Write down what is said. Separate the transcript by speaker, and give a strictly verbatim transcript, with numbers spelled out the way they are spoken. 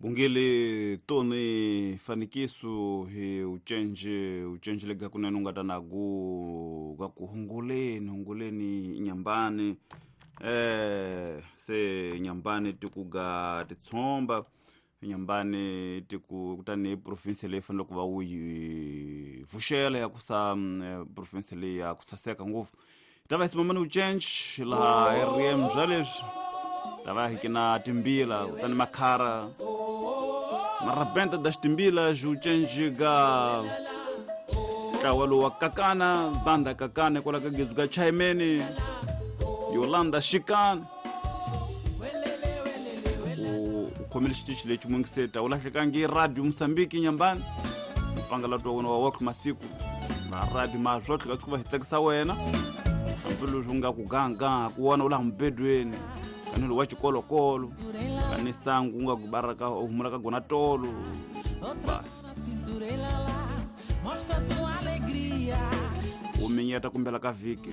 Speaker 1: Bungele toni fanikiso hi ucenje ucenje lega kunene unga ta nagu ga ku hunguleni hunguleni nyambani eh se nyambani tikuga titsomba nyambani tiku kutani province leyi fanele ku va u yi vuxela ya ku sa province leyi ya ku saseka ngopfu ta va hi simamani ucenje laha hi riem bya leswi ta va hi kina timbila kutani makhara marabenta das timbilas ucenje ga ntlawa wa kakana banda kakana kwala ka gezu ga chaimeni Yolanda Shikan u khomile xitichi lexi mungiseta u lahlekangi radio Mozambique nyambani mpfangala twa wona wa wakh masiku va radio ma swotlhe ka siku va hi tsakisa wena hambileswi u nga ku ganga ku wona u laha mubedweni kanelo wa xikolokolo kani sangu u nga ku baraka u humula ka gona tolo basi u minyeta kumbela ka vhiki.